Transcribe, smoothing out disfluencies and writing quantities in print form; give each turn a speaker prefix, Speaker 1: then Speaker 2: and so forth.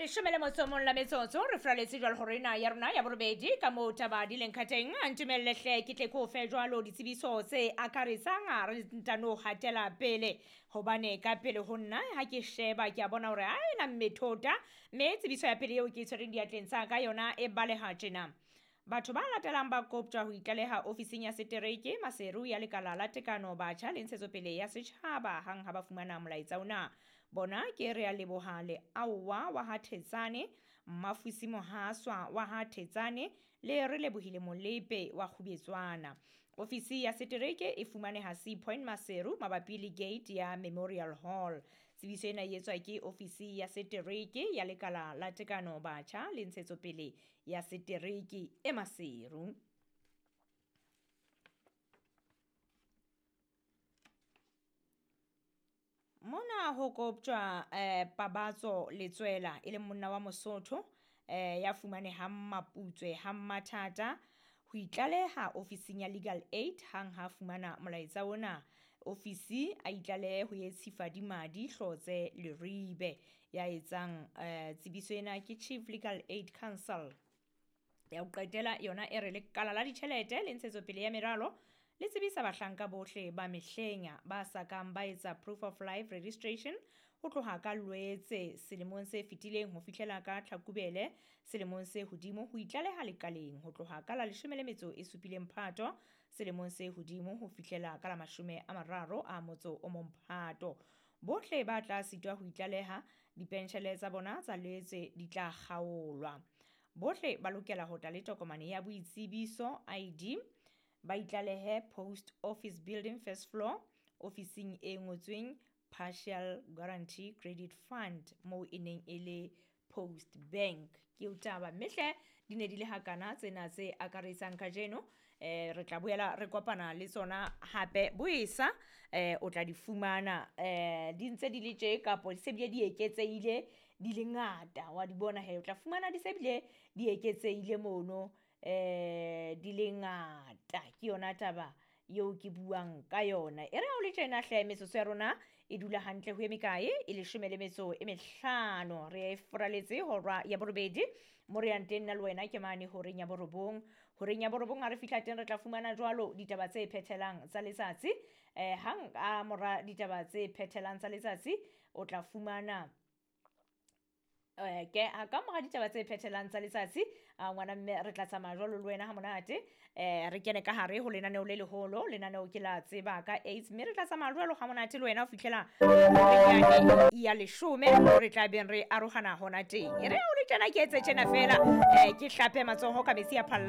Speaker 1: Leshome le motso o mong la metsotso re furaletse jwalo hore ena ya rona ya borobedi ka moo taba di leng ka teng. A ntumelle hle ke tle ke o fe jwalo ditsebiso tse akaretsang, a re ntano hatela pele hobane ka pele ho nna ha ke sheba ke a bona hore a ena mmethota, mme tsebiso ya pele eo ke e tshwereng diatleng tsa ka yona e baleha tjena. Batho ba latelang ba koptjwa ho itlaleha ofising ya setereke Maseru ya lekala la tekano batjha le ntshetsopele ya setjhaba hang ha ba fumana molaetsa ona. Bona ke Rea Leboha Leaowa wa ha Thetsane, Mmafusi Mohaswa wa ha Thetsane le Re Lebohile Molepe wa Kgubetswana. Ofisi ya setereke e fumaneha Sea Point Maseru mabapi le gate ya Memorial Hall. Tsebiso ena e etswa ke ofisi ya setereke ya lekala la tekano batjha le ntshetsopele ya setereke e Maseru. Mona ho koptjwa Pabatso Letswela e leng monna wa Mosotho ya fumanehang Maputswe ha Mmathata ho itlaleha ofising ya Legal Aid hang ha fumana molaetsa ona. Ofisi a itlalehe ho ye Tshifadimadi Hlotse Leribe ya etsang tsebiso ena ke Chief Legal Aid Council. Ya ho qetela yona e re lekala la ditjhelete le ntshetsopele ya meralo le tsebisa bahlanka bohle ba mehleng ba sa kang ba etsa proof of life registration ho tloha ka Loetse selemong se fetileng ho fihlela ka Tlhakubele selemong se hodimo ho itlaleha lekaleng ho tloha ka la 17 Phato selemong se hodimo ho fihlela ka la 31 Phato. Bohle ba tla sitwa ho itlaleha dipenshele tsa bona tsa Loetse di tla kgaolwa. Bohle ba lokela ho tla le tokomane ya boitsebiso ID, ba itlalehe Post Office Building first floor ofising e ngotsweng Partial Guarantee Credit Fund moo e neng e le Post Bank. Ke o taba mme hle di ne di le hakana tsena tse akaretsang kajeno. Re tla boela re kopana le tsona hape boesa, o tla di fumana di ntse di le tje kapo di se bile di eketsehile di le ngata, wa di bona he, o tla fumana di se bile di eketsehile mono di le ngata. Ke yona taba eo ke buang ka yona. E re ha o le tjena hle metsotso ya rona e dula hantle ho eme kae e 15. Re e furaletse hora ya borobedi mo re yang teng nna le wena ke mane horeng ya borobong. Horeng ya borobong ha re fihla teng re tla fumana jwalo ditaba tse phethelang tsa letsatsi. Hang ka mora ditaba tse phethelang tsa letsatsi o tla fumana ke ka mora ditaba tse phethelang tsa letsatsi ngwana mme re tla tsamaya jwalo le wena ha monate, re kene ka hare ho lenaneo le leholo. Lenaneo ke la tseba ka AIDS mme re tla tsamaya jwalo ha monate le wena ho fihlela ya 10 re tla beng re arohana hona teng. E re ha o le tjena ke etse tjena fela, ke hlape matsoho ka metsi a phallang.